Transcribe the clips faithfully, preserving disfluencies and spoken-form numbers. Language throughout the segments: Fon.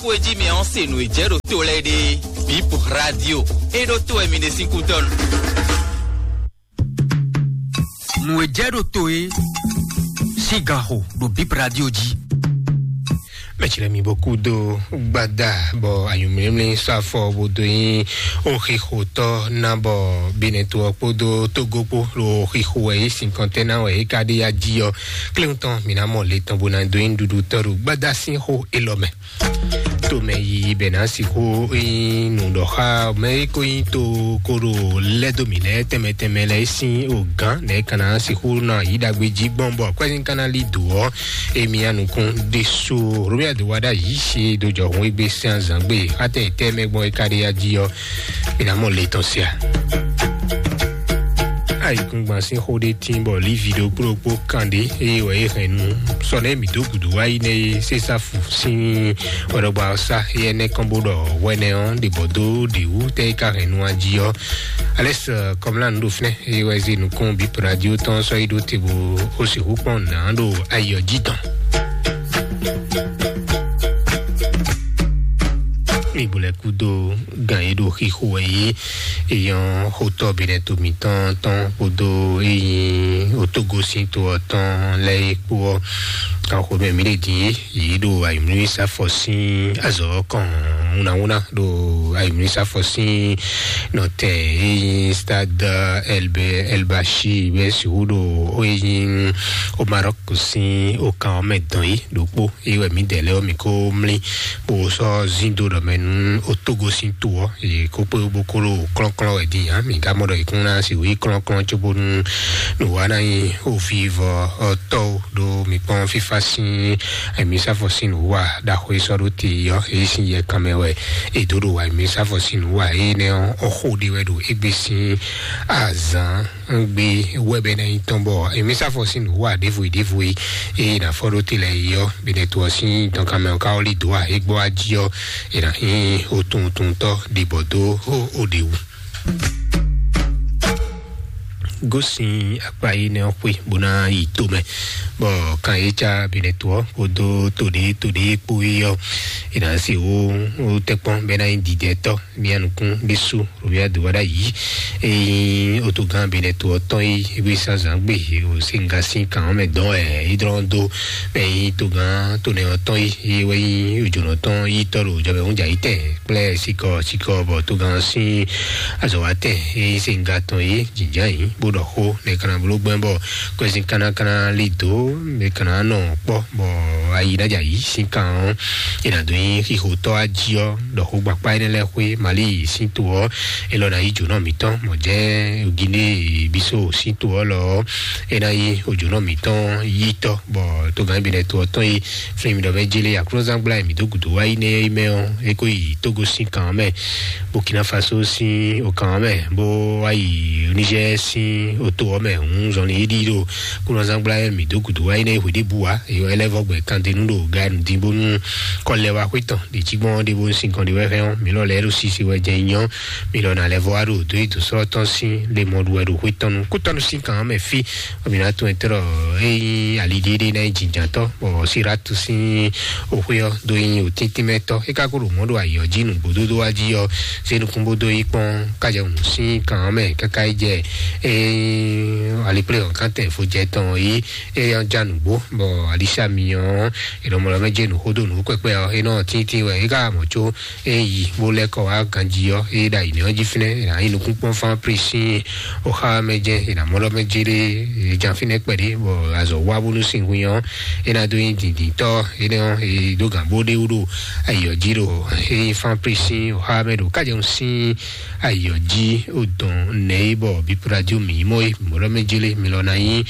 Kú e jí mi ɔ́ se nǔ e jɛ ɖo to lɛ́ɛ ɖe. Bip Radio e ɖo to wɛ mi ɖe sín kútɔ́nu. Nǔ e jɛ ɖo to e sín ganxo ɖo Bip Radio jí. Mɛtsi lɛ mi bɔ kú dó gbada bɔ anyǔmlímlí sɔ́ afɔ bó dó nyí oxixotɔ́ ná bɔ Benɛto ɔ́ kpódó Togo kpó ɖo oxixo wɛ yě sin kɔntɛ́ ná wɛ é ka ɖe ya jí ɔ́. Kléwún tɔn mǐ ná mɔ le tɔn bó ná dó nyí ɖuɖu tɔ́ ɖo gbada sín xó élɔ́ mɛ. Tomɛ yiyi bɛ ná sixú nyí nǔɖɔxá mɛ e ko nyí to ko ɖo lɛ́ dó mǐ lɛ́ɛ tɛnmɛ tɛnmɛ lɛ́ɛ sín ogán nɛ́ ka ná sixú nɔ yí ɖagbe jí gbɔn bɔ akwɛ́zín ka ná lí dǒ ɔ́, émí ya nukún ɖésú. Robiade wá ɖ'ayǐ sí dó jɔ hun égbé sɛn azǎn gbe xátɛ tɛ́ mɛ gbɔn é ka ɖe ya jí ɔ́, mǐ ná mɔ le tɔn sia. Ayǐkúngban sín xó ɖé tín bɔ lívi ɖokpó ɖokpó kan ɖé eye wɛ é hɛn nu sɔ nɛ́ mǐ dó gǔdo wá yi nɛ́ é sésá fu sín wɛɖɔgba ɔ́ sá éyɛ́ nɛ́ kɔn bó ɖɔ hwɛnɛ ɔ́ ɖě bɔ dó ɖě wú tɛ́ é ka hɛn nu a jí ɔ́. Alɛ́s kɔmlá nǔ ɖo fínɛ́ eye wɛ zé nukún bǐ radio tɔn sɔ́ yi ɖó te bó ó sixú kpɔ́n nǎ ɖo ayi ɔ́ jí tɔn. Mi gblɛ kúdó gan e ɖo xixo wɛ yé eyɔn xotɔ Benɛto mǐtɔn tɔn kpódó eyin otógosín to ɔ́ tɔn lɛ́ɛ é kpó ɔ́. Kan xomɛ mǐ ɖe din é yě ɖo ayǐmlúmí sáfɔ sín azɔ̌ kɔn wúnawúna ɖo ayǐmlúmí sáfɔ sín nɔtɛn eyin stade elbe elbashi bɛ sixú ɖo eyin o Maroc sín okan ɔ́ mɛ dɔn yí ɖokpó. Eye wɛ mǐdɛɛ lɛ́ɛ ɔ́ mǐ ko mlí bó sɔ́ zín dó ɖɔ mɛ nú otógosín to ɔ́, yě ko kpé bó ko ɖo klɔ́nklɔ́n wɛ din ǎ. Mǐ ka mɔ ɖɔ yě kún ná sixú yí klɔ́nklɔ́n cóbónú nǔ wa ná nyí ovivɔ ɔ́ tɔ́ ó ɖó mi kpɔ́n fífá sín ayǐmísafɔ sín nǔwa ɖaxó e sɔ́ ɖó te ɔ́, é sín yɛ kanmɛ wɛ è dǒ ɖo ayǐmísafɔ sín nǔwa énɛ́ ɔ́, xó ɖé wɛ ɖo égbé sín azǎn. Gbe wɛ bɛ ná nyí tɔn bɔ emi sáfɔ sín nǔ wa ɖěvo yi ɖěvo yi eye nà fɔ ɖó te lɛ yi ɔ́ bene to ɔ́ sín dɔnkanmɛ ɔ́ ká ɔ́ lí dǒ a é gbɔ wá jí ɔ́ è nà nyí otuntɔntɔ ɖibɔ dó o ɖe wú. Gósin akpa yi nɛ ɔ́ xwé bó ná yi to mɛ bɔ kan yé cá bene to ɔ́ kpódó to ɖé to ɖé kpó yi ɔ́ è nà se wo tɛkpɔn bɛ ná nyí didɛtɔ mía nukún ɖésú. Robiado wá ɖ'ayǐ eye otogán Benɛto ɔ́ tɔn yi ewé sazán gbe o se nga sín kan ɔ́ mɛ dɔn ɛ yi dlɔn dó mɛ yi togán tonɛ ɔ́ tɔn yi eye wɛ yi ojònɔ tɔn yi tɔ ɖo jɔbɛ ŋu jà yi tɛ kplɛ sikɔ sikɔ bɔ togán sín azɔ wa tɛ eye se nga tɔn yi jìjà yi bó ɖɔ xó ne kana bló gbɛn bɔ kwɛsin kánákáná li dó ne kana nɔ kpɔ bɔ ayi ɖ'adja yi sín kan ɔ́ e nà dó nyi xixotɔ ají ɔ́ ɖɔ xó gbakpá énɛ́ lɛ́ɛ xwé Mali sín to ɔ́, é lɔ ná yi jǒnɔ mǐtɔn mɔ̌ jɛ́n Guinée Bissau sín to ɔ́ lɔ ɔ́, é ná yi ojǒnɔ mǐtɔn yítɔ́, bɔ togán Benɛto ɔ́ tɔn yi flin mì ɖɔ mɛ jélé Aklúnɔzán gbla mǐ dó gǔdo wá yi nɛ́ yi mɛ ɔ́, é kó yi Togo sín kan ɔ́ mɛ, Burkina Faso sín okan ɔ́ mɛ, bó wá yi Niger sín oto ɔ́ mɛ hǔn zɔnlin é ɖi ɖo Aklúnɔzán gbla mǐ dó gǔdo wá yi nɛ́ yi hweɖěbǔ wá, é lɛ́ vɔ gbɛ kandenu ɖo ganu dín bónú kɔ lɛ wá xwé tɔn ɖě jí gbɔn ɖé bó sín gɔn ɖé wɛ hɛn ɔ́, mǐ lɔ lɛ́ ɖo sisi wɛ jɛ nyɔ, mǐ lɔ ná lɛ́ vɔ wá ɖo dó yi dǒsrɔ́ tɔn sín lé mɔ ɖu wɛ ɖo xwé tɔn nu kútɔnu sín kan mɛ fí, mǐ ná tunwun tɔ́ ɖɔ é nyí ali ɖé ɖé ná nyí jǐnjǎntɔ́, bɔ Siratu sín oxwé ɔ́ dó nyí òtíntímɛtɔ́. É ka ko ɖo mɔ̌ ɖo ayǐ ɔ́ jí nǔgbódódó wá jí ɔ́, zé nukún bó dó yi kpɔ́n kájɛwǔ sín kan ɔ́ mɛ káká yi jɛ é nyí alikplé ɔ́ kántɛn fojɛ tɔn yí é ɔ́ já nǔgbó, bɔ Alisha myɔ ɔ́, è nɔ mɔ ɖɔ mɛ jɛ nǔ xó dó nǔ kpɛkpɛ ɔ́, é nɔ tíntín wɛ é ka mɔ có é yi bó lɛ́ kɔ wá ganjí ɔ́, é ɖo ayǐ nɛ́ ɔ́ jí fínɛ́, è nǎ yi nukúnkpɔ́n fán Prisín oxá mɛ jɛ́n, è nǎ mɔ ɖɔ mɛ jéré, è jan fínɛ́ kpɛɖé, bɔ azɔ̌ wá bónú sin hun ɔ́, é ná dó nyí dǐndíntɔ́ énɛ́ ɔ́, è dó gǎn bó ɖé wú ɖo ayǐ ɔ́ jí ɖo é nyí fán Prisín oxá mɛ ɖo kájɛwun sín ayǐ ɔ́ jí, ó dɔn nɛ̌ é bɔ bípúɖajú mǐ mɔ é, mɔ ɖɔ mɛ jéré mi lɔ ná nyí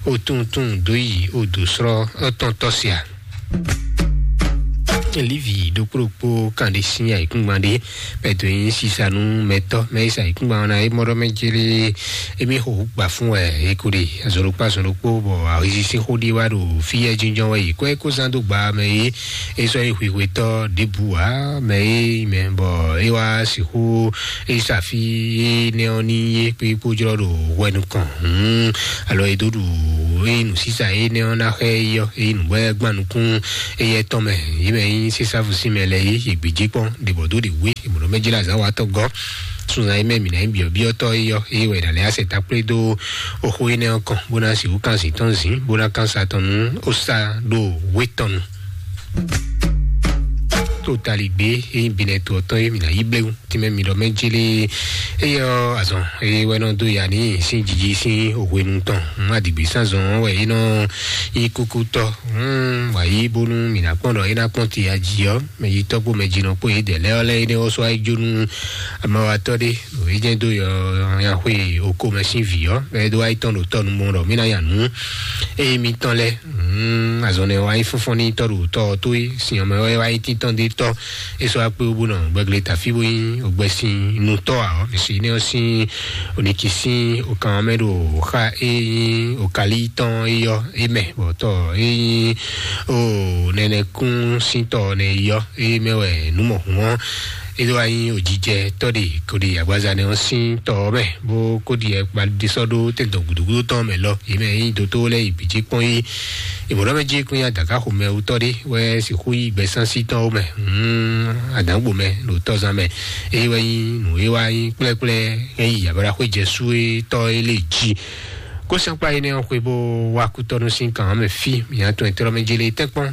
ó túntún dó yi ó dǒ srɔ́ ɔ́ tɔn tɔ́ sia. Lívi ɖokpó ɖokpó kan ɖé sín ayǐkúngban ɖé bɛ dó nyí sisa nú mɛtɔ́ mɛ e sa ayǐkúngban ɔ́ ná é mɔ ɖɔ mɛ jélé émí xo gbà fún wɛ é ko ɖe azɔn ɖokpó azɔn ɖokpó bɔ ahwezi sín xó ɖé wá ɖo fí yɛ jínjɔ́n wɛ yi kɔ é kó zán dó gba mɛ é é sɔ́ yi hwihwetɔ́ ɖěbǔ ǎ mɛ é yi mɛ bɔ é wá sixú é sa fí é nɛ́ ɔ́ ní é kpé kpó jlɔ́ ɖo hwɛ nukɔn hǔn alɔ é dó ɖu Eye nǔsisa énɛ́ ɔ́ ná xá yi ɔ́, eye nǔbɔ gbán nukún éyɛ́ tɔn mɛ, yě mɛ nyí sísáfu sín mɛ lɛ́ɛ yé, yě gbějé kpɔ́n ɖě bɔ dó ɖě wé, è mɔ̌ ɖɔ mɛ jlá zǎn wa tɔ́ gɔ́. Sunzan yi mɛ mǐ ná nyí byɔ̌byɔ́tɔ́ é ɔ́, eye wɛ è nǎ lɛ́ asɛ takplé dó oxó énɛ́ ɔ́ kɔn, bó ná sixú kan zǐn tɔn zǐn, bó ná kan sa tɔn nú ó sa ɖo wé tɔn nu. To taligbé é nyí binɛ to ɔ́ tɔn é mǐ ná yí bléwu. Tínmɛ mi ɖɔ mɛ jélé, eye ɔ́ azɔn eye wɛ nɔ dó ya ní sín jiji sín hwenu tɔn. Má dìgbì sánzɔn wɛ é nɔ nyí kúkútɔ́. Wǎ yí bónú mǐ ná kpɔ́n ɖɔ é ná kpɔ́n ti aji ɔ́, mɛ yi tɔ́ kpó mɛ jinɔ kpó yědɛɛ lɛ́ɛ ɔ́ lɛ́ɛ énɛ́ ɔ́ sɔ́ wá yi jó nú amawatɔ́ ɖé. Nǔ e jɛ́n dó yɔ nyaxwe oko mɛ sín vǐ ɔ́, mɛ e dó wá yi tɔn ɖo tɔ́ nu mɔ ɖɔ mí ná nya nǔ eye mitɔn lɛ́ɛ. Azɔn nɛ wá yi fúnfún ní tɔ́ ɖo tɔ́ ɔ́ tó é, sin ɔ́ mɛ wɛ wá yi títɔn dé tɔ́. É sɔ́ wá kpé wú bó nɔ gbɛgle tafí bó nyí ògbɛsin nutɔ́ ǎ ɔ́, mǐ si énɛ́ ɔ́ sín onikísin okan ɔ́ mɛ ɖo xa e nyí okali tɔn é yɔ é mɛ, bɔ tɔ é nyí o nɛnɛkún sín tɔ nɛ é yɔ é mɛ wɛ nǔ mɔ̌hun ɔ́ é ɖó wá nyí òjijɛ tɔ́ ɖe kó ɖe agbaza nɛ ɔ́ sín tɔ ɔ́ mɛ, bó kó ɖi ɛkpa ɖisɔ ɖó tɛntɔn gǔdúgúdú tɔn mɛ lɔ. Yě mɛ nyí dótó lɛ́ɛ yi bǐ jí kpɔ́n yí. Ìmọ̀lọ́mɛjí kún ya dàgá xomɛ wutɔ́ ɖé wɛ sixú yí gbɛsánsítɔ́ mɛ. Adǎngbo mɛ ɖo tɔzán mɛ. Eye wɛ nyí nǔ e wá nyí kplɛ́kplɛ́ é yi ablaxwé jɛ sú é tɔ́ é lé jí. Kó sɛ́nkpá énɛ́ ɔ́ xwe bó wá kútɔ́nú sín kan mɛ fí mǐ atɔn ɛtɛ́lɔ́mɛjí lé tɛ́nkpɔ́n.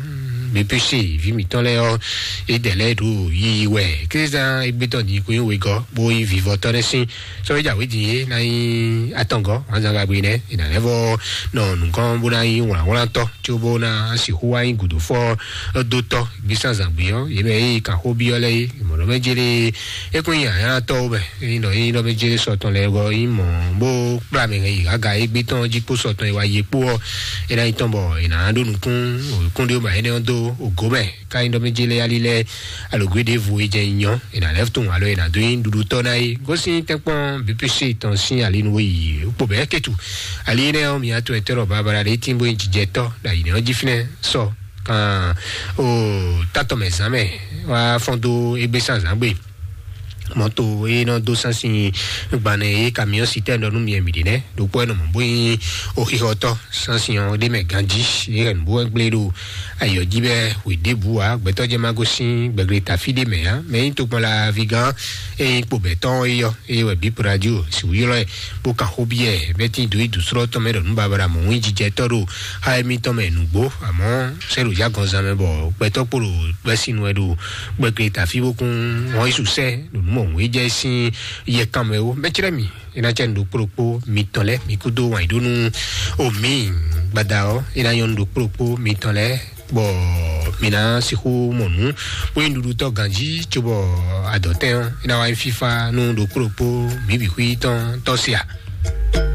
Bípísì ví mǐtɔn lɛ́ɛ ɔ́, é dɛ lɛ́ɛ ɖo yiyi wɛ. Kézán égbétɔn ní kó nyí wegɔ́ bó nyí vivɔtɔ́ nɛ́ sín. Sɔ́ é jǎwe din é ná nyí atɔngɔ́ wǎnzangagbe nɛ́, è nǎ lɛ́ vɔ nɔ nǔgɔ́n bó ná nyí wlǎnwlántɔ́, có bó ná sixú wá nyí gǔdófɔ́ dótɔ́ gbísánzǎngbé ɔ́, yě mɛ é yi kan xó byɔ́ lɛ́ɛ é, mɔ̌ lɔ mɛ jélé é kún nyí anyálatɔ́ wú mɛ. É nyí ɖɔ é nyí ɖɔ mɛ jélé sɔtɔn lɛ́ɛ gɔ́ nyí mɔ̌ bó kplá mɛ hɛn yi gǎga égbé tɔn jí kpó sɔtɔn e wá yé kpó ɔ́, é ná nyí tɔn bɔ è nǎ ɖó nukún kúnɖéwúma énɛ́ ɔ́ dó ògó mɛ. Ka nyí ɖɔ mɛ jélé ali lɛ́ɛ alogwe ɖěvo e jɛ nyɔ, è nǎ lɛ́ tunwun alo è nǎ dó nyí ɖuɖutɔ́ ná é. Gosín tɛ́nkpɔ́n B P C tɔn sín ali nú yi kpo bɛ́ ketu. Ali énɛ́ ɔ́, mǐ atɔn ɛtɛ́ ɖɔ babala ɖé tín bó nyí jijɛtɔ́ ɖo ayǐ nɛ́ ɔ́ jí fínɛ́ sɔ kan o tátɔ mɛ zán mɛ wá fɔ́n dó égbé sánzán gbe. Mɔto e nɔ dó sánsin gbanɛ e kamiɔn sitɛn ɖɔ nú miɛ mi ɖe nɛ ɖokpɔ e nɔ mɔ bó nyi oxixɔtɔ sánsin ɔ́ ɖe mɛ ganji e hɛn bó gblé ɖo ayɔ jí bɛ hwe ɖěbǔ ǎ. Gbɛtɔ jɛ ma gosín gbɛgble tafi ɖe mɛ ǎ. Mɛ nyi tokpɔn la vigán e nyi kpo bɛtɔn e yɔ e wɛ bí radio si wúyɔlɔ ɛ bó kan xó biɛ bɛ tí do yi dusrɔ tɔn mɛ ɖɔ nú babara mɔ wín jijɛ tɔ ɖo xa émítɔn mɛ nǔgbó. Àmọ́ sɛ ɖo jágɔnzán mɛ bɔ gbɛtɔ kpo ɖo gbɛsín wɛ ɖo gbɛgble tafi bó kún wɔn yi susɛ ɖo nú mɔ wín jɛ sín yɛ kan mɛ wo mɛ cɛrɛ mi. Ina cɛ nu ɖokpó ɖokpó mitɔn lɛ mi kúdó wàn yi ɖó nú omi gbada ɔ ina nyɔ nu ɖokpó ɖokpó mitɔn lɛ bɔ mi ná sixú mɔ nǔ bó yi nuɖuɖu tɔ ganji tso bɔ adɔtɛn ɔ ina wa yi fifa nú ɖokpó ɖokpó mi bǐ xwí tɔn tɔ sia.